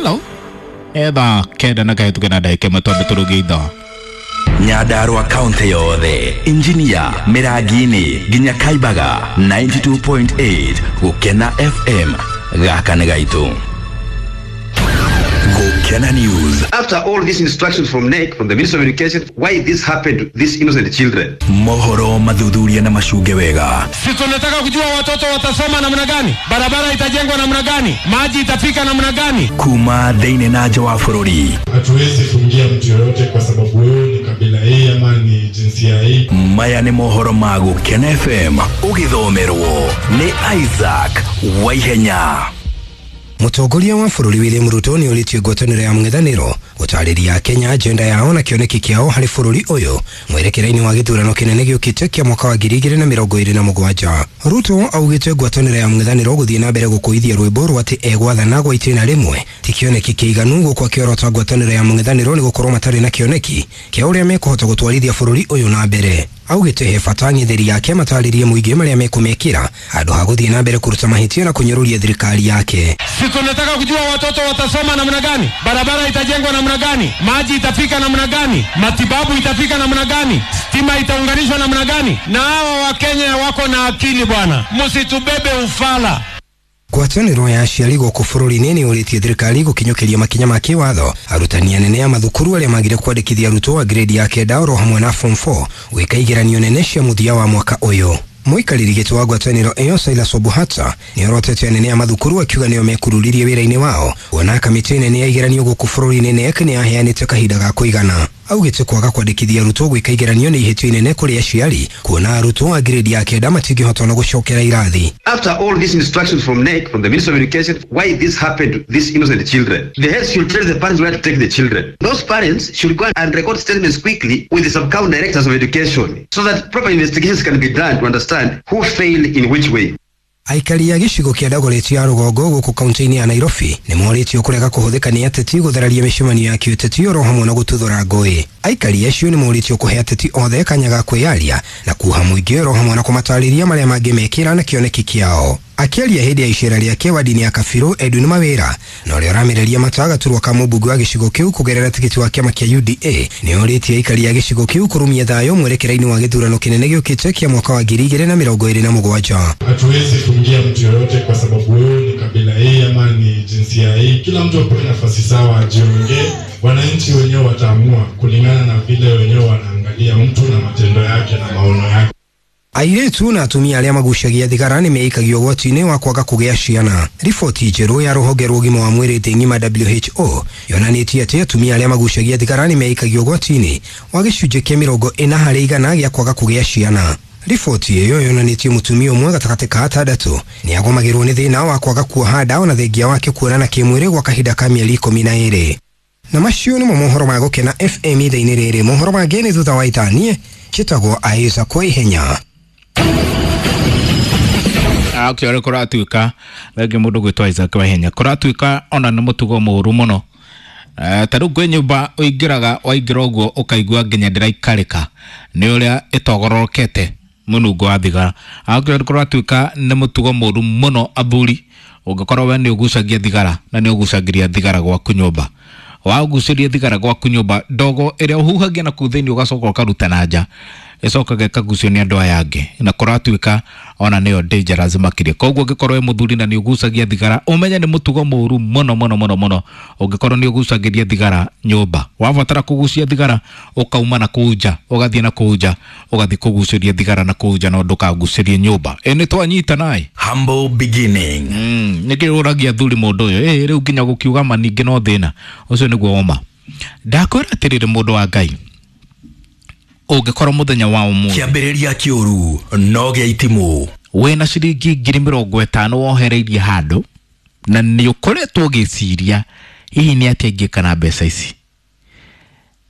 Hello. Etha kenda na kahĩtũke na ndagĩka ĩmwe twambe tũrũgie ithaa. Nyandarua kaunti yothe, Injinia, Mĩrangi-inĩ nginya Kaibaga 92.8 Gũkena FM. Gaka nĩ gaitũ. Gũkena News. After all these instructions from NEC, from the Ministry of Education, why this happened to these innocent children? Mohoro mathuthuria na macunge wega. Si tunataka kujua watoto watasoma namna gani, barabara itajengwa namna gani, maji itafika namna gani? Kuma thĩinĩ na nja wa bũrũri. Hatuwezi fungia mtu yoyote kwa sababu wewe ni kabila hii ama ni jinsia hii. Maya nĩ mohoro ma Gũkena FM ũgĩthomerwo nĩ Isaac Waihenya. Mũtongoria wa bũrũri William Ruto nĩ orĩtie ngwatanĩro ya mũng'ethanĩro gũtarĩria Kenya agenda yao na kĩoneki kĩao harĩ bũrũri ũyũ mwerekera-inĩ wa gĩthurano kĩnene gĩũkĩte kĩa mwaka wa 2027. Ruto augĩte ngwatanĩro ya mũng'ethanĩro gũthiĩ na mbere gũkũithia rwĩmbo rwa atĩ egwathana gwa itĩna rĩmwe ti kĩoneki kĩiganu, gũkũ akĩorota ngwatanĩro ya mũng'ethanĩro nĩ gũkorwo matarĩ na kĩoneki kĩa ũrĩa mekũhota gũtwarithia bũrũri ũyũ na mbere. Augĩte he bata ng'etheri yake matarĩrie mũingĩ marĩa mekũmekĩra handũ ha gũthiĩ na mbere kũruta mahĩtia na kũnyũrũria thirikari yake. Si tunataka kujua watoto watasoma namna gani, barabara itajengwa namna gani, maji itafika namna gani, matibabu itafika namna gani, stima itaunganishwa namna gani? Na hawa Wakenya wako na akili bwana, msitubebe ufala. Ngwatanĩro ya aciari gũkũ bũrũri-inĩ nĩ ũrĩtie thirikari gũkinyũkĩria makinya ma kĩwatho arutani anene a mathukuru arĩa magire kwandĩkithia arutwo a grade ya kenda oro hamwe na form 4 gwĩka igeranio nene cia mũthia wa mwaka ũyũ. Mũikarĩri gĩtĩ wa ngwatanĩro ĩyo Silas Obuhata nĩ orotete anene a mathukuru akiuga nĩo mekururirie wĩra-inĩ wao kuona kamĩtĩ nene ya igeranio gũkũ bũrũri-inĩ KNEC nĩ yaheanĩte kahinda ga kũigana. Augĩte kwaga kwandĩkithia arutwo gwĩka igeranio nĩ ihĩtia inene kũrĩ aciari kuona arutwo a grade ya kenda matingĩhota ona gũcokera irathi. After all these instructions from NEC, from the Ministry of Education, why this happened to these innocent children? The heads should tell the parents where to take the children. Those parents should go and record statements quickly with the sub-county directors of education so that proper investigations can be done to understand who failed in which way. Aikari a gĩcigo kĩa Dagoretti ya rũgongo gũkũ kaunti-inĩ ya Nairobi nĩ morĩtio kũrega kũhũthĩka nĩ ateti gũthararia mĩcemanio ya kĩũteti oro hamwe na gũtuthũra ngũĩ. Aikari acio nĩ morĩtio kũhe ateti othe kanya ga kwĩyaria na kuha mũingĩ oro hamwe na kũmatarĩria marĩa mangĩmekĩra na kĩoneki kĩao. Akĩaria hĩndĩ ya icera rĩake wadi-inĩ ya Kabirũ Edwin Mawĩra na ũrĩa ũramereria mata gaturwa ka mũmbunge wa gĩcigo kĩu kũgerera tigiti wa kĩama kĩa UDA nĩ orĩtie aikari a gĩcigo kĩu kũrũmia thayũ mwerekera-inĩ wa gĩthurano kĩnene gĩũkĩte kĩa mwaka wa 2027. Hatuwezi fungia mtu yoyote kwa sababu wewe ni kabila hii ama ni jinsia hii. Kila mtu apewe nafasi sawa ajiongee. Wananchi wenyewe wataamua kulingana na vile wenyewe wanaangalia mtu na matendo yake na maono yake. Airĩtu na atumia arĩa magucagia thigara nĩ meikagio ũgwati-inĩ wa kwaga kũgĩa ciana. Riboti njerũ ya rũhonge rwa ũgima wa mwĩrĩ thĩ ng'ima WHO yonanĩtie atĩ atumia arĩa magucagia thigara nĩ meikagio ũgwati-inĩ wa gĩcunjĩ kĩa 40% gĩa kwaga kũgĩa ciana. Riboti ĩyo yonanĩtie mũtumia ũmwe gatagatĩ ka atandatũ nĩ agomagĩrwo nĩ thĩna wa kwaga kuoha nda ona thengia wake kuonana kĩmwĩrĩ gwa kahinda ka mĩeri 12. Na macio nĩmo mohoro ma Gũkena FM ithaa-inĩ rĩrĩ. Mohoro mangĩ nĩ thutha wa ithaa. Niĩ njĩtagwo Isaac Waihenya. Akĩore kũratuĩka rĩngĩ mũndũ gwĩtwo Isaac Waihenya kũratuĩka ona nĩ mũtugo mũũru mũno. Ta rĩu kwĩ nyũmba ũingĩraga waingĩra ũguo ũkaigua nginya ndĩraikarĩka nĩ ũrĩa ĩtogororokete mũnungo wa thigara. Akĩore kũratuĩka nĩ mũtugo mũũru mũno athuri, ũngĩkorwo we nĩ ũgucagia thigara na nĩ ũgucagĩria thigara gwaku nyũmba, wagucĩria thigara gwaku nyũmba ndogo ĩrĩa ũhuhagia na kũu thĩinĩ ũgacoka ũkaruta na nja ĩcokaga ĩkagucio nĩ andũ aya angĩ na kũratuĩka ona nĩyo dangerous makĩria. Koguo ũngĩkorwo wĩ mũthuri na nĩ ũgucagia thigara ũmenye nĩ mũtugo mũũru mũno mũno mũno mũno. Ũngĩkorwo nĩ ũgucagĩria thigara nyũmba, wabatara kũgucia thigara ũkauma na kũu nja ũgathiĩ na kũu nja ũgathiĩ kũgucĩria thigara na kũu nja no ndũkagucĩrie nyũmba. Ĩ nĩ twanyita naĩ. Humble beginning. Nĩkĩ ũragia athuri mũndũ ũyũ? Ĩ rĩu nginya gũkiuga ma ningĩ no thĩna ũcio nĩguo woma. Ndakwĩra atĩrĩrĩ mũndũ wa Ngai, ũngĩkorwo mũthenya wa ũmũthĩ kĩambĩrĩria kĩũru no gĩa itimũ wĩna ciringi 50,000 wohereirie handũ na nĩ ũkoretwo ũgĩciria hihi nĩ atĩa ingĩka na mbeca ici,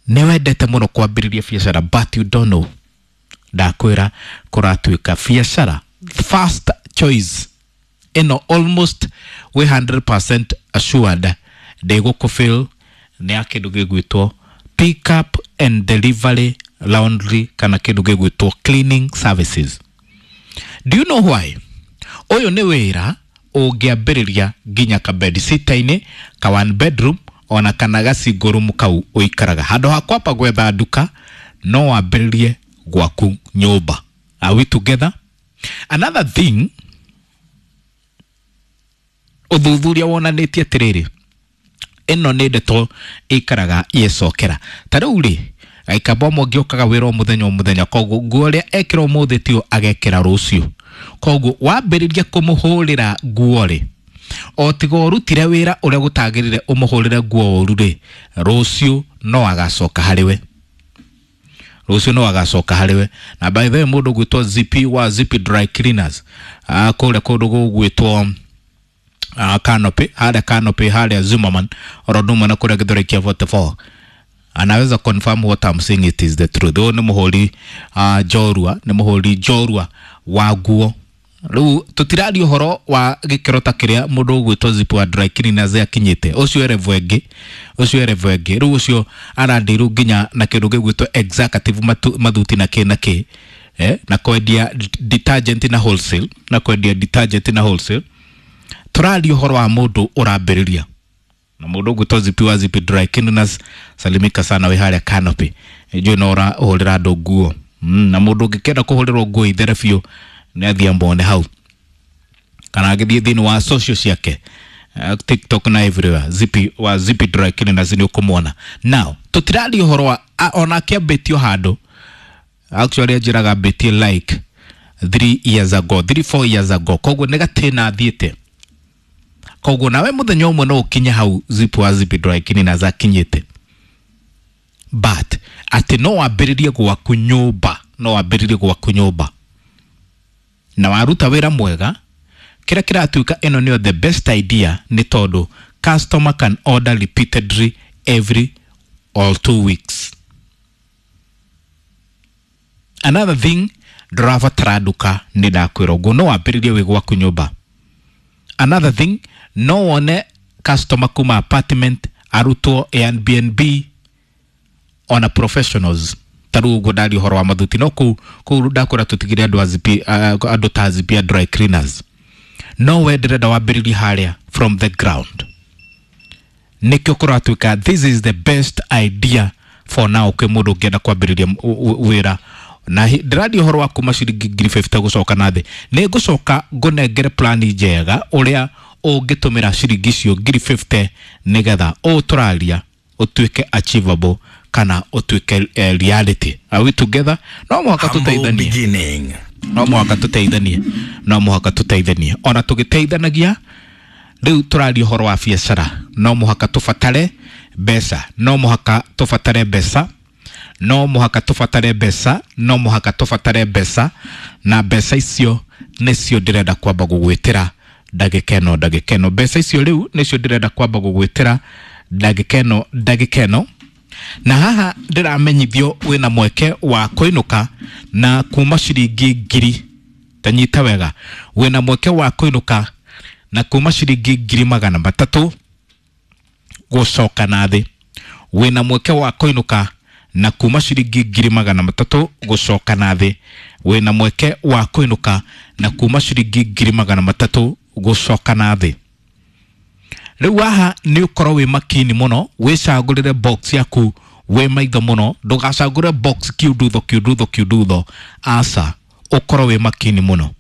nĩ wendete mũno kwambĩrĩria biacara but you don't know. Ndakwĩra kũratuĩka biacara first choice ĩno almost wĩ 100% assured ndĩgũkũfail nĩ ya kĩndũ gĩgwĩtwo pick up and delivery laundry kana kĩndũ gĩgwĩtwo cleaning services. Do you know why? Ũyũ nĩ wĩra Ũngĩambĩrĩria nginya ka bed sitter-inĩ, ka one bedroom, ona kana ga single room kau ũikaraga. Handũ ha kwamba gwetha nduka, no wambĩrĩrie gwaku nyũmba. Are we together? Another thing, ũthuthuria wonanĩtie atĩrĩrĩ, ĩno nĩ ndeto ĩikaraga ĩgĩcokera. Ta rĩu rĩ, Gĩkamba ũmwe ũngĩũkaga wĩra o mũthenya o mũthenya, koguo nguo ĩrĩa ekĩra ũmũthĩ tio agekĩra rũciũ. Koguo wambĩrĩria kũmũhũrĩra nguo rĩ, o tiga ũrutire wĩra ũrĩa gũtagĩrĩire ũmũhũrĩre nguo ũru rĩ, rũciũ no agacoka harĩ we. Rũciũ no agacoka harĩ we. Na by the way, mũndũ ũgwĩtwo Zippy wa Zippy Dry Cleaners, kũrĩa kũndũ gũgwĩtwo Canopy, harĩa Canopy, harĩa Zimmerman, oro ũndũ ũmwe na kũrĩa Gĩthũrai kĩa 44, anaweza confirm what I'm saying, it is the truth. Ũyũ nĩ mũhũri njorua, nĩ mũhũri njorua wa nguo. Rĩu tũtiraria ũhoro wa gĩkĩro ta kĩrĩa mũndũ ũgwĩtwo Zippy wa Dry Cleaners akinyĩte. Ũcio e level ĩngĩ, ũcio e level ĩngĩ. Rĩu ũcio arandirwo nginya na kĩndũ gĩgwĩtwo executive mathuti na kĩ na kĩ, na kwendia detergent na wholesale, na kwendia detergent na wholesale. Tũraria ũhoro wa mũndũ ũrambĩrĩria, na mũndũ ũgwĩtwo Zippy wa Zippy Dry Cleaners, salimika sana wĩ harĩa Canopy. Njũĩ no ũrahũrĩra andũ nguo, na mũndũ ũngĩkenda kũhũrĩrwo nguo ithere biũ nĩ athiĩ amwone hau, kana agĩthiĩ thĩinĩ wa social ciake, TikTok na everywhere. Zippy wa Zippy Dry Cleaners nĩ ũkũmwona. Now tũtiraria ũhoro wa ona akĩambĩtio handũ, actually anjĩraga ambĩtie like 3 years ago, 3 4 years ago, koguo nĩ gatĩna athiĩte. Koguo nawe mũthenya ũmwe no ũkinye hau Zippy wa Zippy Dry Cleaners akinyĩte. But atĩ no wambĩrĩrie gwaku nyũmba, no wambĩrĩrie gwaku nyũmba na waruta wĩra mwega, kĩrĩa kĩratuĩka ĩno nĩyo the best idea nĩ tondũ customer can order repeatedly every or 2 weeks. Another thing, ndũrabatara nduka, nĩ ndakwĩra ũguo, no wambĩrĩrie wĩ gwaku nyũmba. Another thing, no wone customer kuma apartment, arutwo, Airbnb, ona professionals. Ta rĩu ũguo ndaria ũhoro wa mathuti, no kũu kũu ndakwĩra tũtigire andũ a Zippy, andũ ta Zippy a dry cleaners. No we ndĩrenda wambĩrĩrie harĩa from the ground. Nĩkĩo kũratuĩka this is the best idea for now kwĩ mũndũ ũngĩenda kwambĩrĩria wĩra. Na ndĩraria ũhoro wa kuma ciringi 50,000 gũcoka na thĩ. Nĩ ngũcoka ngũnengere plani njega ũrĩa ũngĩtũmĩra ciringi icio 50,000 nĩgetha ũũ tũraria ũtuĩke achievable kana ũtuĩke reality. Are we together? No mũhaka Humble tũteithanie. beginning. No mũhaka tũteithanie, no mũhaka tũteithanie. Ona tũgĩteithanagia rĩu tũraria ũhoro wa biacara, no mũhaka tũbatare mbeca, no mũhaka tũbatare mbeca, no mũhaka tũbatare mbeca, no mũhaka tũbatare mbeca. Na mbeca icio nĩcio ndĩrenda kwamba gũgwĩtĩra ndagĩka ĩno, ndagĩka ĩno. Mbeca icio rĩu nĩcio ndĩrenda kwamba gũgwĩtĩra ndagĩka ĩno, ndagĩka ĩno. Na haha ndĩramenyithio wĩna mweke wa kũinũka na kuma ciringi ngiri, tanyita wega, wĩna mweke wa kũinũka na kuma ciringi 300,000 gũcoka na thĩ. Wĩna mweke wa kũinũka na kuma ciringi 300,000 gũcoka na thĩ. Wĩna mweke wa kũinũka na kuma ciringi 300,000 gũcoka na thĩ. Rĩu haha nĩ ũkorwo wĩ makini mũno, wĩcagũrĩre box yaku wĩ maitho mũno, ndũgacagũre box kiundutho kiundutho kiundutho, aca, ũkorwo wĩ makini mũno.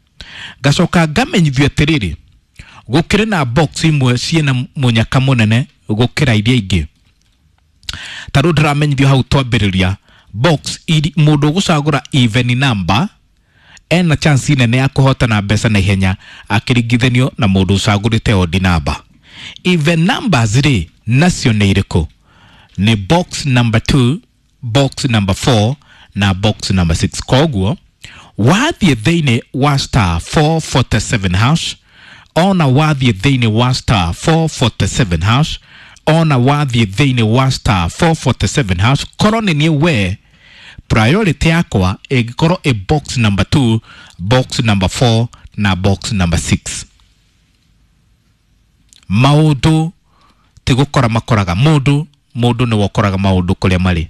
Ngacoka ngamenyithio atĩrĩrĩ, gũkĩrĩ na box imwe ciĩna mũnyaka mũnene gũkĩra iria ingĩ. Ta rĩu ndĩramenyithio hau twambĩrĩria box mũndũ ũgũcagũra even number ena chance nene ya kũhotana mbeca na ihenya akĩringithanio na mũndũ ũcagũrĩte odd number. Even numbers rĩ, nacio nĩ irĩkũ? Nĩ box number 2, box number 4 na box number 6. Koguo wathiĩ thĩinĩ wa star 447 hash, ona wathiĩ thĩinĩ wa star 447 hash, ona wathiĩ thĩinĩ wa star 447 hash, korwo nĩ niĩ we, priority yakwa ĩngĩkorwo ĩ box number 2, box number 4 na box number 6. Maũndũ ti gũkora makoraga mũndũ, mũndũ nĩwe ũkoraga maũndũ kũrĩa marĩ.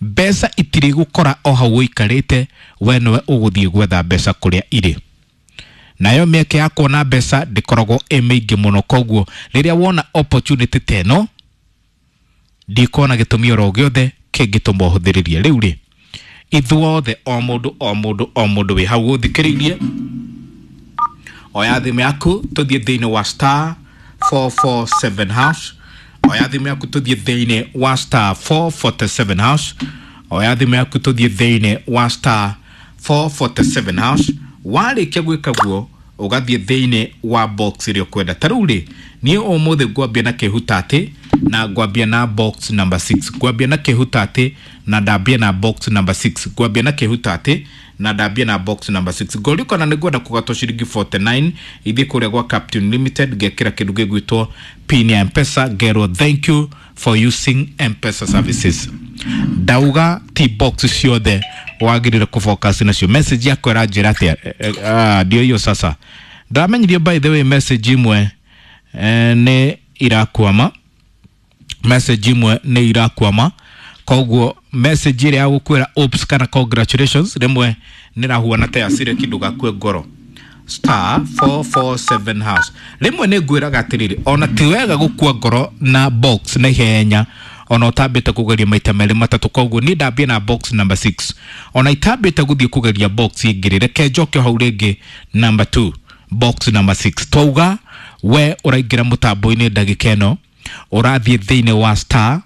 Mbeca itirĩ gũkora o hau ũikarĩte, we nĩwe ũgũthiĩ gwetha mbeca kũrĩa irĩ. Nayo mĩeke ya kuona mbeca ndĩkoragwo ĩ mĩingĩ mũno. Koguo rĩrĩa wona opportunity ta ĩno, ndikuona gĩtũmi oro gĩothe kĩngĩtũma ũhũthĩrĩrie. Rĩu rĩ, ithuothe, o mũndũ o mũndũ o mũndũ wĩ hau ũthikĩrĩirie, oya thimũ yaku tũthiĩ thĩinĩ wa star 447 hash. Oya thimũ yaku tũthiĩ thĩinĩ wa star 447 hash. Oya thimũ yaku tũthiĩ thĩinĩ wa star 447 hash. Warĩkia gwĩka guo, ũgathiĩ thĩinĩ wa box ĩrĩa ũkwenda. Ta rĩu rĩ, niĩ ũmũthĩ ngwambia na kĩhutatĩ na ngwambia na box number 6. Ngwambia na kĩhutatĩ na ndambia na box number 6. Ngwambia na kĩhutatĩ na ndambia na box number 6. Ngorio kana nĩ ngwenda kũgatwo ciringi 49 ithiĩ kũrĩa gwa Captain Limited, ngekĩra kĩndũ gĩgwĩtwo pin ya Mpesa, ngerwo thank you for using Mpesa services. Ndauga ti box ciothe wagĩrĩire kũfocus nacio. Message yakwa ĩranjĩra atĩa? Ndio hiyo sasa ndamenyirio. By the way, message imwe nĩ irakwama, message imwe nĩ irakwama. Koguo message ĩrĩa ya gũkwĩra oops kana congratulations rĩmwe nĩ rahuana ta yacire kĩndũ gakue ngoro. Star 447 hash. Rĩmwe nĩ ngwĩraga atĩrĩrĩ, ona ti wega gũkua ngoro na box na ihenya ona ũtambĩte kũgeria maita merĩ matatũ. Koguo niĩ ndambie na box number 6, ona itambĩte gũthiĩ kũgeria box ĩngĩ, reke njoke hau rĩngĩ number 2, box number 6. Twauga we ũraingĩra mũtambo-inĩ ndagĩka ĩno, ũrathiĩ thĩinĩ wa star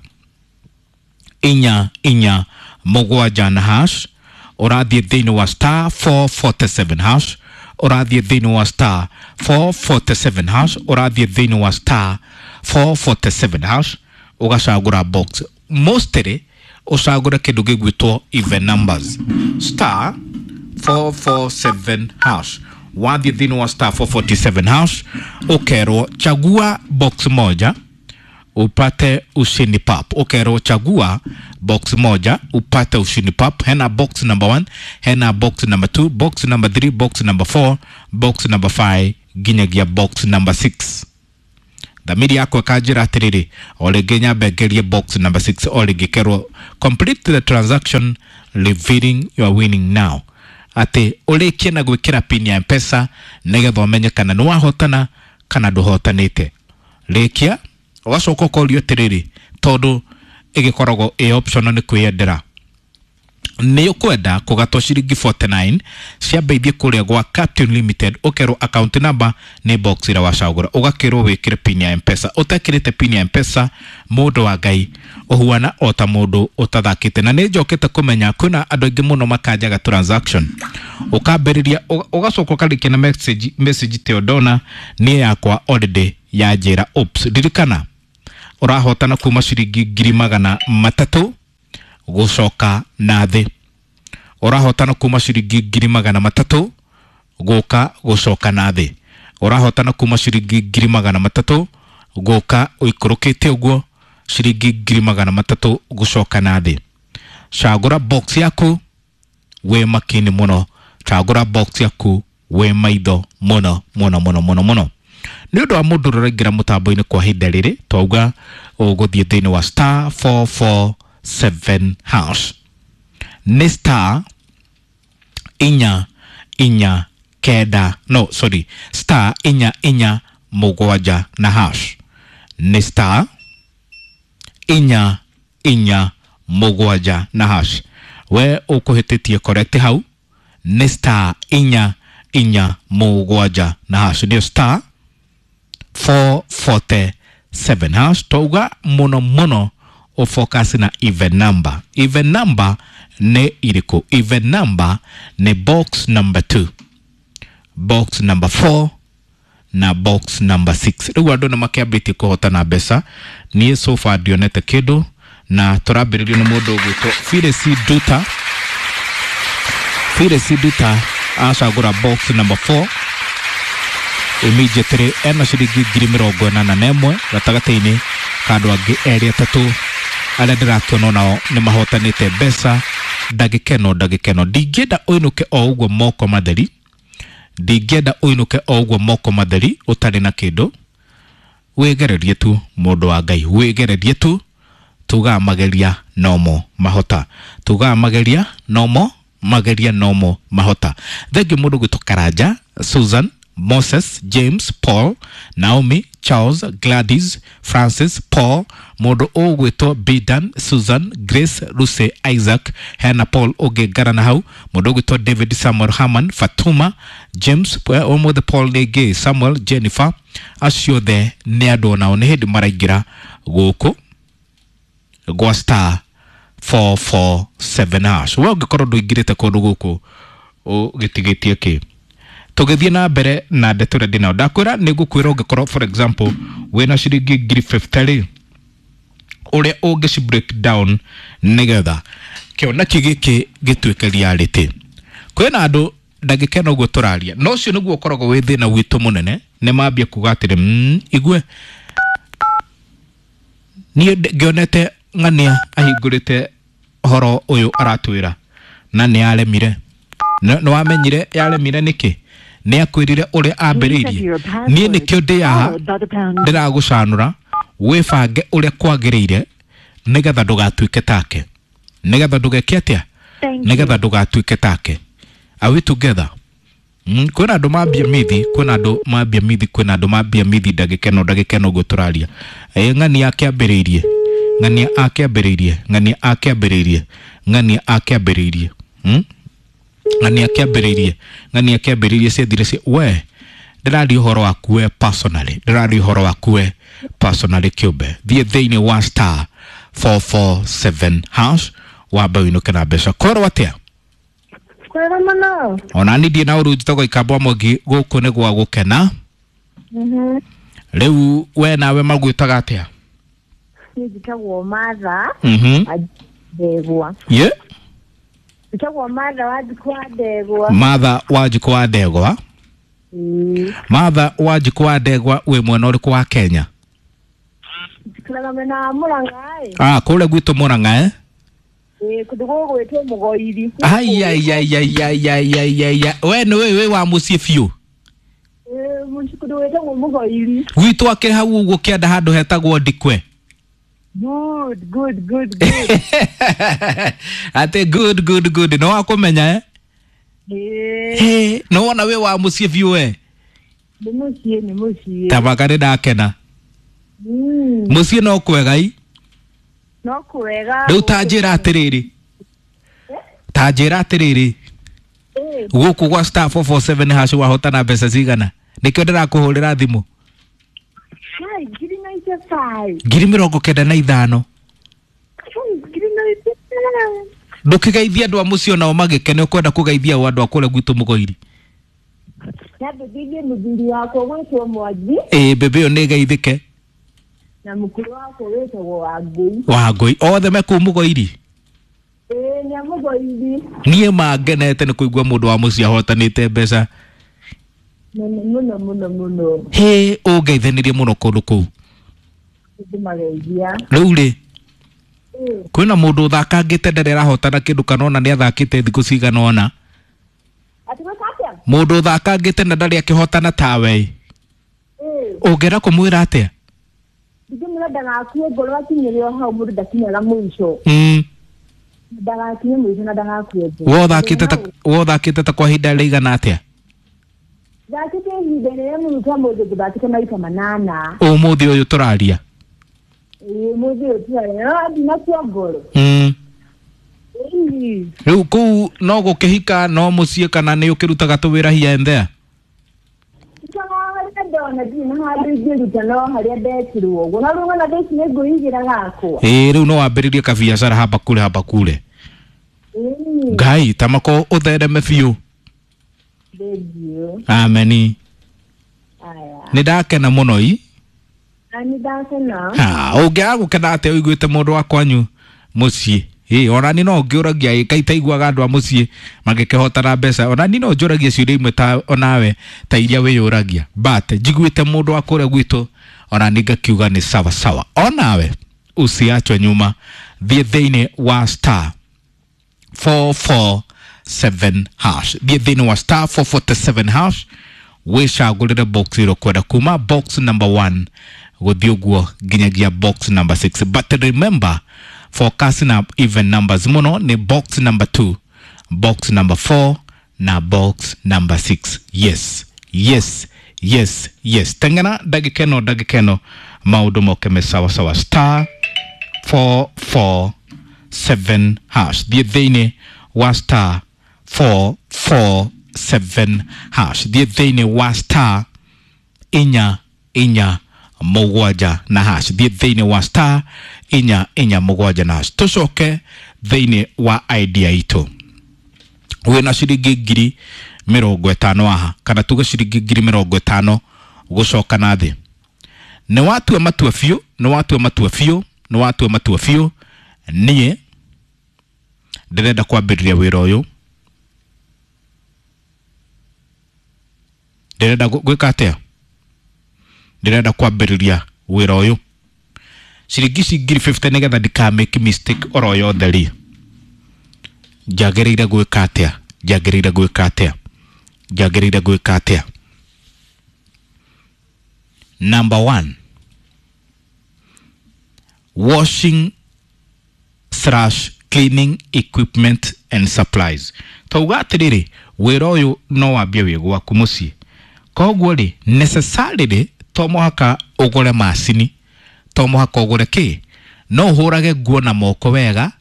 447 na hash. Ũrathiĩ thĩinĩ wa star 447 hash. Ũrathiĩ thĩinĩ wa star 447 hash. Ũrathiĩ thĩinĩ wa star 447 hash, ũgacagũra box. Mostly ũcagũre kĩndũ gĩgwĩtwo even numbers. Star 447 hash. Wathiĩ thĩinĩ wa star 447 hash, ũkerwo chagua box moja upate ushindi pap. Ũkerwo chagua box moja upate ushindi pap. Hena box number 1, hena box number 2, box number 3, box number 4, box number 5 nginyagia box number 6. Thamiri yakwa ĩkanjĩra atĩrĩrĩ, o rĩngĩ nyambe ngerie box number 6. O rĩngĩ kerwo complete the transaction revealing your winning now, atĩ ũrĩkie na gwĩkĩra pin ya Mpesa nĩgetha ũmenye kana nĩ wahotana kana ndũhotanĩte. Rĩkia, ũgacoka ũkorio atĩrĩrĩ, tondũ ĩgĩkoragwo ĩ optional, nĩ kwĩyendera, nĩ ũkwenda kũgatwo ciringi 49 ciambe ithiĩ kũrĩa gwa Captain Limited? Ũkerwo account number nĩ box ĩrĩa wacagũra, ũgakĩrwo wĩkĩre pin ya Mpesa. Ũtekĩrĩte pin ya Mpesa, mũndũ wa Ngai, ũhuana o ta mũndũ ũtathakĩte. Na nĩ njokete kũmenya kwĩna andũ aingĩ mũno makanjaga transaction, ũkambĩrĩria, ũgacoka ũkarĩkia na message. Message teo ndona niĩ yakwa already yanjĩra oops. Ririkana ũrahotana kuma ciringi 300,000 gũcoka na thĩ. Ũrahotana kuma ciringi 300,000 gũka gũcoka na thĩ. Ũrahotana kuma ciringi 300,000 gũka ũikũrũkĩte ũguo, ciringi 300,000 gũcoka na thĩ. Cagũra box yaku wĩ makini mũno. Cagũra box yaku wĩ maitho mũno mũno mũno mũno mũno. Nĩ ũndũ wa mũndũ ũraingĩra mũtambo-inĩ kwa ihinda rĩrĩ, twauga ũgũthiĩ thĩinĩ wa star 447 hash. Nĩ star 449, no, sorry, star 447 na hash. Nĩ star 447 na hash. We ũkũhĩtĩtie correct hau, nĩ star 447 na hash, nĩyo star 447 hash. Twauga mũno mũno ũfocus na even number. Even number nĩ irĩkũ? Even number nĩ box number 2, box number 4 na box number 6. Rĩu andũ nĩ makĩambĩtie kũhotana mbeca. Niĩ so far ndionete kĩndũ, na tũrambĩrĩrio nĩ mũndũ ũgwĩtwo Phyllis Duta. Phyllis Duta acagũra box number 4, immediately ena ciringi 81,000. Gatagatĩ-inĩ ka andũ angĩ erĩ atatũ arĩa ndĩrakĩona nao nĩ mahotanĩte mbeca ndagĩka ĩno. Ndagĩka ĩno ndingĩenda ũinũke o ũguo moko matheri. Ndingĩenda ũinũke o ũguo moko matheri ũtarĩ na kĩndũ. Wĩgererie tu, mũndũ wa Ngai, wĩgererie tu. Tugaga mageria nomo mahota, tugaga mageria nomo, mageria nomo mahota. Thengiũ mũndũ gwĩtwo Karanja Susan. Moses, James, Paul, Naomi, Charles, Gladys, Francis, Paul, mũndũ ũgwĩtwo Bidan, Susan, Grace, Lucy, Isaac, hena Paul ũngĩ ngarana hau, mũndũ ũgwĩtwo David, Samuel, Haman, Fatuma, James, ũmũthĩ Paul nĩngĩ, Samuel, Jennifer, acio othe nĩ andũ onao nĩ hĩndĩ maraingĩra gũkũ gwa star 447 hash. We ũngĩkorwo ndũingĩrĩte kũndũ gũkũ ũgĩtigĩtie kĩ? Tũgĩthiĩ na mbere na ndeto ĩrĩa ndĩnayo, ndakwĩra nĩ ngũkwĩra ũngĩkorwo for example wĩna ciringi 50,000 rĩ, ũrĩa ũngĩci break down nĩgetha kĩoneki gĩkĩ gĩtuĩke reality. Kwĩna andũ ndagĩka ĩno ũguo tũraria, na ũcio nĩguo ũkoragwo wĩ thĩna witũ mũnene, nĩ mambia kuga atĩrĩ, igue niĩ ngĩonete ng'ania ahingũrĩte ũhoro ũyũ aratwĩra na nĩ aremire. Nĩ wamenyire yaremire nĩkĩ? Nĩ akwĩrire ũrĩa ambĩrĩirie. Niĩ nĩkĩo ndĩ haha ndĩragũcanũra wĩbange ũrĩa kwagĩrĩire nĩgetha ndũgatuĩke take, nĩgetha ndũgeke atĩa, nĩgetha ndũgatuĩke take. Are we together? Kwĩna andũ mambia mithi, kwĩna andũ mambia mithi, kwĩna andũ mambia mithi ndagĩka ĩno, ndagĩka ĩno ũguo tũraria. Ng'ania akĩambĩrĩirie, ng'ania akĩambĩrĩirie, ng'ania akĩambĩrĩirie, ng'ania akĩambĩrĩirie, ng'ania akĩambĩrĩirie, ng'ania akĩambĩrĩirie ciathire cia we ndĩraria ũhoro waku we personally, ndĩraria ũhoro waku we personally kĩũmbe. Thiĩ thĩinĩ wa star 447 hash wambe ũinũke na mbeca. Kwerwo atĩa? Kwega mũno. Ona niĩ ndirĩ na ũru, njĩtagwo Ikamba Mwangi, gũkũ nĩ gwa gũkena. Rĩu we nawe magwĩtaga atĩa? Niĩ njĩtagwo Martha Ndegwa. Ye? Njĩtagwo Martha Wanjikũ wa Ndegwa. Martha Wanjikũ wa Ndegwa. Martha Wanjikũ wa Ndegwa, wĩ mwena ũrĩkũ wa Kenya? Njikaraga mwena wa Mũrang'a ĩ. Ah, kũrĩa gwitũ Mũrang'a eh? Ĩĩ, kũndũ gũgwĩtwo Mũgoiri. Ai ai ai ai ai ai ai ai ai. We nĩ wĩ wa mũciĩ biũ. Ĩĩ, kũndũ gwĩtagwo Mũgoiri. Gwitũ akĩrĩ hau ũguo kĩanda handũ hetagwo Ndikwe. Good, good, good, good. Atĩ good good good, nĩ wakũmenya eh? Ĩĩ, Hey, nĩ wona wĩ wa mũciĩ biũ we. nĩ mũciĩ, nĩ mũciĩ. Tabaka nĩ ndakena. Mũciĩ no kwega i. No kwega. Rĩu ta njĩra atĩrĩrĩ, ta njĩra atĩrĩrĩ, gũkũ gwa star 447 hash wahotana mbeca cigana? Nĩkĩo ndĩrakũhũrĩra thimũ. Hai, 95,000. 95,000. 95,000. Ndũkĩgeithie andũ a mũciĩ onao magĩkene, ũkwenda kũgeithia o andũ a kũrĩa gwitũ Mũgoiri. Nyambĩrĩirie mũthuri wakwa gwĩtwo Mwangi. Ĩĩ, mbĩmbĩ ĩyo nĩ ĩgeithĩke. Na mũkũrũ wakwa wĩtagwo Wangũi. Wangũi othe me kũu Mũgoiri? Ĩĩ, nĩ a Mũgoiri. Niĩ mangenete nĩ kũigua mũndũ wa mũciĩ ahotanĩte mbeca. Mũno mũno mũno mũno. Hĩ, ũngeithanĩrie mũno kũndũ kũu. Ndĩmageithia. Rĩu rĩ, kwĩna mũndũ ũthakangĩte ndarĩ arahotana kĩndũ kana ona nĩ athakĩte thikũ cigana ũna? Atĩ gwĩka atĩa? Mũndũ ũthakangĩte na ndarĩ akĩhotana tawe, ũngĩenda kũmwĩra atĩa? Ndingĩmwĩra ndagakue ngoro akinyĩre o hau, mũndũ ndakinyaga mũico. Ndagakinye mũico na ndagakue ngoro. We ũthakĩte ta kwa ihinda rĩigana atĩa? Thakĩte ihinda rĩrĩa mũno ta mũndũ ngũthakĩte maita 8. Ũmũthĩ ũyũ tũraria? Ĩĩ, ũmũthĩ ũyũ tũraria. No ndinakua ngoro. Rĩu kũu no gũkĩhika no mũciĩ kana nĩ ũkĩrutaga tũwĩra here and there? Harĩa ndona ndirĩ na handũ ingĩruta no harĩa ndekirwo ũguo. No rĩu ona thaa ici nĩ ngwĩigĩra gakwa. Ĩĩ, rĩu no wambĩrĩrie kabiacara hapa kule hapa kule. Ngai tamako ũthereme biũ. Thengiũ. Ameni. Aya. Nĩ ndakena mũno i. Na nĩ ndakena. Ũngĩaga gũkena atĩa ũiguĩte mũndũ wa kwanyu mũciĩ? Ĩĩ, ona niĩ no ngĩũragia ĩ, kaĩ itaiguaga andũ a mũciĩ magĩkĩhotana mbeca. Ona niĩ no njũragie ciũria imwe ta onawe ta iria wĩyũragia. But njiguĩte mũndũ wa kũrĩa gwitũ ona niĩ ngakiuga nĩ sawa sawa. Onawe usiachwe nyuma, thiĩ thĩinĩ wa star 447 hash, thiĩ thĩinĩ wa star 447 hash wĩcagũrĩre box ĩrĩa ũkwenda kuma box number 1 gũthiĩ ũguo nginyagia box number 6. But remember, focus na even numbers mũno nĩ box number 2, box number 4 na box number 6. Yes. Yes, yes, yes. Teng'era ndagĩka ĩno, ndagĩka ĩno maũndũ moke me sawa sawa. Star 447 hash, thiĩ thĩinĩ wa star 447 hash, thiĩ thĩinĩ wa star inya inya mũgwanja na hash, thiĩ thĩinĩ wa star inya inya mũgwanja na hash. Tũcoke thĩinĩ wa idea itũ. Wĩna ciringi 50,000 haha, kana tuge ciringi 50,000 gũcoka na thĩ. Nĩ watua matua biũ, nĩ watua matua biũ, nĩ watua matua biũ, niĩ ndĩrenda kwambĩrĩria wĩra ũyũ, ndĩrenda gwĩka atĩa, ndĩrenda kwambĩrĩria wĩra ũyũ. Ciringi ici 50,000 nĩgetha ndika make mistake oro yothe rĩ, njagĩrĩire gwĩka atĩa, njagĩrĩire gwĩka atĩa, njagĩrĩire gwĩka atĩa? Number 1, washing slash cleaning equipment and supplies. Tauga atĩrĩrĩ, wĩra ũyũ no wambie wĩ gwaku mũciĩ, koguo rĩ necessarily to mũhaka ũgũre macini, to mũhaka ũgũre kĩ, no ũhũrage nguo na moko wega,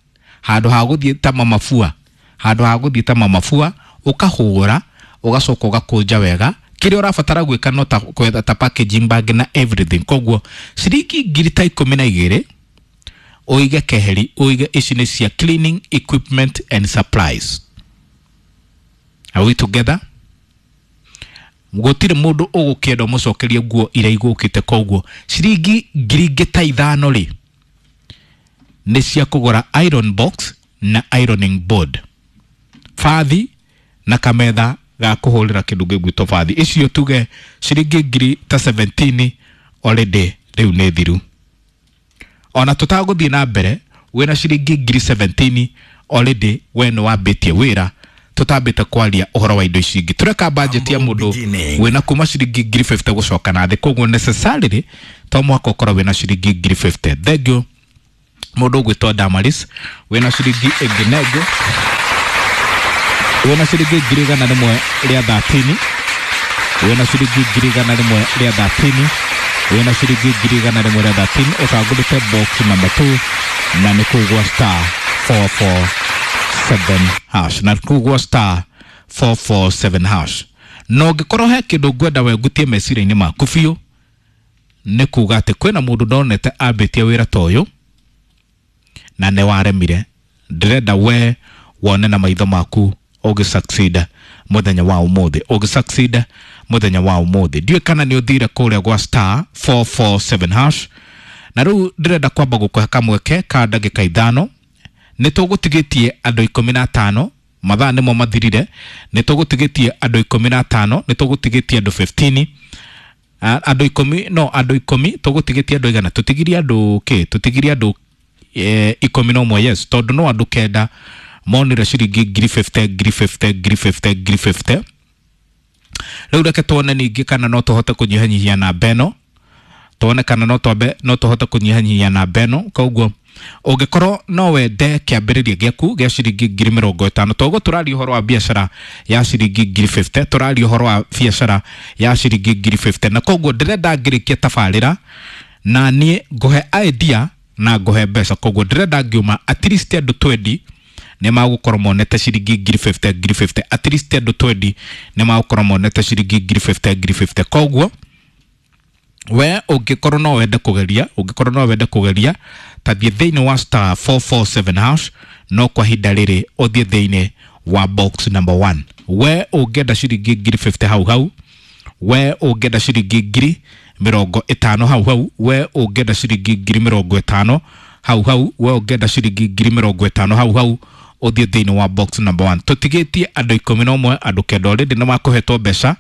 handũ ha gũthiĩ ta mamabua, handũ ha gũthiĩ ta mamabua ũkahũra ũgacoka ũgakũnja wega. Kĩrĩa ũrabatara gwĩka no ta kwetha ta packaging bag na everything. Koguo ciringi 12,000 ũige keheri, ũige ici nĩ cia cleaning equipment and supplies. Are we together? Gũtirĩ mũndũ ũgũkĩenda ũmũcokerie nguo iria igũkĩte, koguo ciringi 5,000 rĩ nĩ cia kũgũra iron box na ironing board, bathi na kametha ga kũhũrĩra kĩndũ gĩgwĩtwo bathi. Icio tuge ciringi 17,000 already rĩu nĩ thiru. Ona tũtagũthiĩ na mbere, wĩna ciringi 17,000 already we nĩ wambĩtie wĩra, tũtambĩte kwaria ũhoro wa indo ici ingĩ. Tũreka budget ya mũndũ wĩna kuma ciringi 50,000 gũcoka na thĩ, koguo necessarily to mũhaka ũkorwo wĩna ciringi 50,000. Thank you mũndũ ũgwĩtwo Damaris, wĩna ciringi ĩngĩ nengĩ, wĩna ciringi 113,000, wĩna ciringi 113,000, wĩna ciringi 113,000, ũcagũrĩte box number 2 na nĩ kũu gwa star 447 hash, na kũu gwa star 447 hash. Na ũngĩkorwo he kĩndũ ngwenda wengutie meciria-inĩ maku biũ, nĩ kuga atĩ kwĩna mũndũ ndonete ambĩtie wĩra ta ũyũ na nĩ waremire. Ndĩrenda we wone na maitho maku ũgĩ succeed mũthenya wa ũmũthĩ, ũgĩ succeed mũthenya wa ũmũthĩ. Ndiũĩ kana nĩ ũthire kũrĩa gwa star 447 hash, na rĩu ndĩrenda kwamba gũkũhe kamweke ka ndagĩka 5. Nĩ tũgũtigĩtie andũ 15, mathaa nĩmo mathirire, nĩ tũgũtigĩtie andũ 15, nĩ tũgũtigĩtie andũ 15, andũ 10, no andũ 10, tũgũtigĩtie andũ igana, tũtigirie andũ kĩ, tũtigirie andũ 11, yes, tondũ no andũ 9 monire ciringi 50,000, 50,000, 50,000, 50,000. Rĩu reke tuone ningĩ kana no tũhote kũnyihanyihia namba ĩno, tuone kana no twambe no tũhote kũnyihanyihia namba ĩno. Koguo ũngĩkorwo no wende kĩambĩrĩria gĩaku gĩa ciringi 50,000, toguo tũraria ũhoro wa biacara ya ciringi 50,000, tũraria ũhoro wa biacara ya ciringi 50,000, na koguo ndĩrenda ngĩrĩkie tabarĩra na niĩ ngũhe idea na ngũhe mbeca. Koguo ndĩrenda ngiuma at least andũ 20 nĩ magũkorwo monete ciringi 50,000, 50,000, at least andũ 20 nĩ magũkorwo monete ciringi 50,000, 50,000. Koguo we ũngĩkorwo no wende kũgeria, ũngĩkorwo no wende kũgeria, ta thiĩ thĩinĩ wa star 447 hash, no kwa ihinda rĩrĩ ũthiĩ thĩinĩ wa box number 1. We ũngĩenda ciringi 50,000 hau hau, we ũngĩenda ciringi 50,000 hau hau, we ũngĩenda ciringi 50,000 hau hau, we ũngĩenda ciringi 50,000 hau hau, ũthiĩ thĩinĩ wa box number 1. Tũtigĩtie andũ 11, andũ 9 already nĩ makũhetwo mbeca,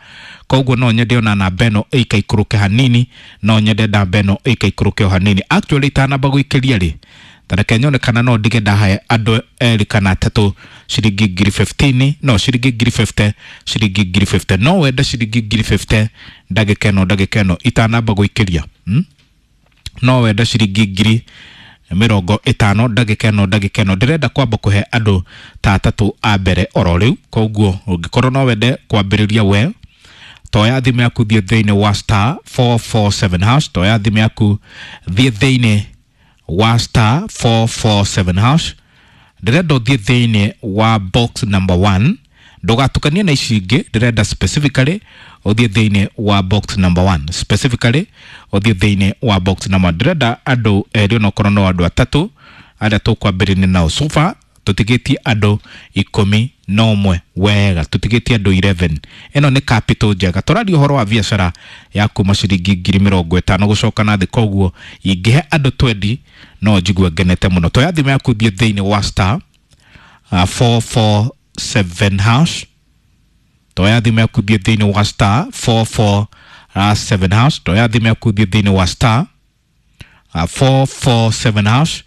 koguo no nyende ona namba ĩno ĩikaikũrũke hanini, no nyende namba ĩno ĩikaikũrũke o hanini. Actually itanamba gũikĩria rĩ, ta reke nyone kana no ndige ndahe andũ erĩ kana atatũ ciringi 15,000, no ciringi 50,000, ciringi 50,000. No wende ciringi 50,000 ndagĩka ĩno, ndagĩka ĩno itanamba gũikĩria, no wende ciringi 50,000 ndagĩka ĩno, ndagĩka ĩno. Ndĩrenda kwamba kũhe andũ ta atatũ a mbere oro rĩu, koguo ũngĩkorwo no wende kwambĩrĩria we Toya thimũ yaku thiĩ thĩinĩ wa star 447 hash. Toya thimũ yaku thiĩ thĩinĩ wa star 447 hash. Ndĩrenda ũthiĩ thĩinĩ wa box number 1, ndũgatukanie na ici ingĩ. Ndĩrenda specifically ũthiĩ thĩinĩ wa box number 1, specifically ũthiĩ thĩinĩ wa box number 1. Ndĩrenda andũ erĩ onokorwo no andũ atatũ arĩa tũkwambĩrĩria nao. So far tũtigĩtie andũ 11 wega, tũtigĩtie andũ 11. Ĩno nĩ capital njega. Tũraria ũhoro wa biacara ya kuma ciringi 50,000 gũcoka na thĩ, koguo ingĩhe andũ 20 no njigue ngenete mũno. Toya thimũ yaku thiĩ thĩinĩ wa star 447 hash. Toya thimũ yaku thiĩ thĩinĩ wa star 447 hash. Toya thimũ yaku thiĩ thĩinĩ wa star 447 hash,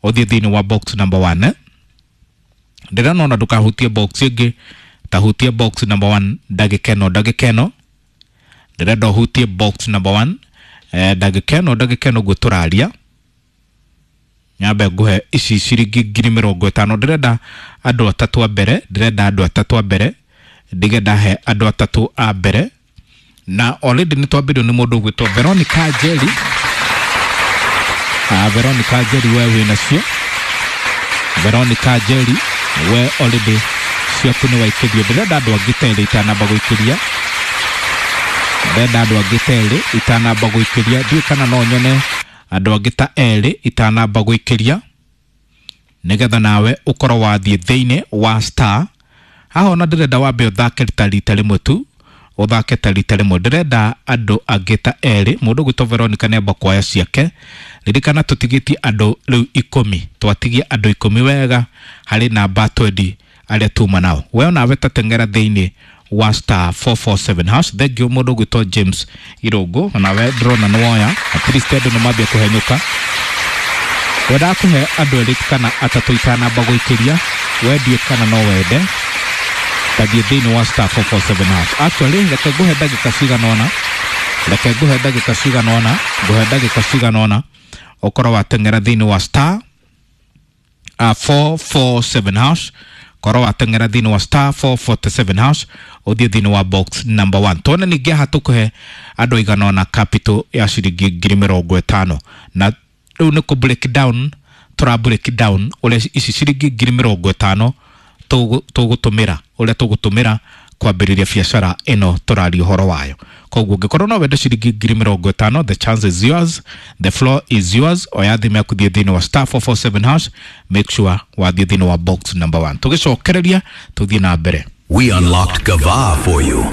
ũthiĩ thĩinĩ wa box number 1. Ndĩrona ndũkahutie box ĩngĩ, tahutie box number 1 ndagĩka ĩno, ndagĩka ĩno ndĩrenda ũhutie box number 1, ndagĩka ĩno, ndagĩka ĩno guo tũraria. Nyambe nguhe ici ciringi 50,000. Ndĩrenda andũ atatũ a mbere, ndĩrenda andũ atatũ a mbere, ndige ndahe andũ atatũ a mbere. Na already nĩ twambĩrĩrio nĩ mũndũ ũgwĩtwo Veronica Njeri. Veronica Njeri, we wĩnacio. Veronica Njeri, we already ciaku nĩ waikĩrio. Ndĩrenda andũ angĩ ta erĩ itanamba gũikĩria, ndĩrenda andũ angĩ ta erĩ itanamba gũikĩria. Ndiũĩ kana no nyone andũ angĩ ta erĩ itanamba gũikĩria, nĩgetha nawe ũkorwo wathiĩ thĩinĩ wa star haha. Ona ndĩrenda wambe ũthake ta rita rĩmwe tu, ũthake ta rita rĩmwe. Ndĩrenda andũ angĩ ta erĩ. Mũndũ ũgwĩtwo Veronica nĩamba kuoya ciake. Ririkana tũtigĩtie andũ rĩu 10, twatigia andũ 10 wega harĩ namba 20 arĩa tuma nao. We onawe ta teng'era thĩinĩ wa star 447 hash. Thank you mũndũ ũgwĩtwo James Irũngũ, onawe ndĩrona nĩ woya. At least andũ nĩ mambia kũhenyũka. Wendaga kũhe andũ erĩ kana atatũ itanamba gũikĩria. Wendie kana no wende, tathiĩ thĩinĩ wa star 447 hash. Actually reke nguhe ndagĩka cigana ũna, reke nguhe ndagĩka cigana ũna, nguhe ndagĩka cigana ũna ũkorwo wateng'era thĩinĩ wa star 447 hash. Korwo wateng'era thĩinĩ wa star 447 hash, ũthiĩ thĩinĩ wa box number 1. Tuone ningĩ haha tũkũhe andũ aigana ũna capital ya ciringi 50,000. Na rĩu nĩ kũ break down, tũra break down ũrĩa ici ciringi 50,000 tũgũtũmĩra, ũrĩa tũgũtũmĩra kwambĩrĩria biacara ĩno tũraria ũhoro wayo. Koguo ũngĩkorwo no wende ciringi 50,000, the chance is yours, the floor is yours. Oya thimũ yaku thiĩ thĩinĩ wa star 447 hash, make sure wathiĩ thĩinĩ wa box number 1. Tũgĩcokereria tũthiĩ na mbere. We unlocked Gava for you.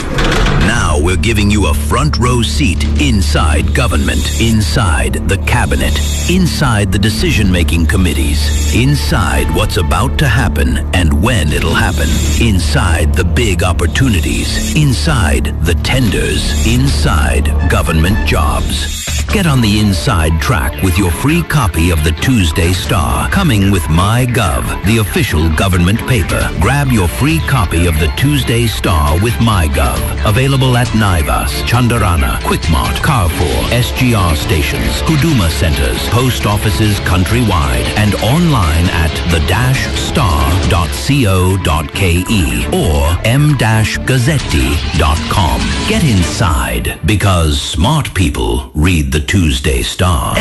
Now we're giving you a front row seat inside government, inside the cabinet, inside the decision-making committees, inside what's about to happen and when it'll happen, inside the big opportunities, inside the tenders, inside government jobs. Get on the inside track with your free copy of the Tuesday Star, coming with MyGov, the official government paper. Grab your free copy of the Tuesday Star with MyGov. Available at Naivas, Chandarana, Quickmart, Carrefour, SGR stations, Huduma centers, post offices countrywide, and online at the-star.co.ke or m-gazzetti.com. Get inside, because smart people read the Tuesday Star.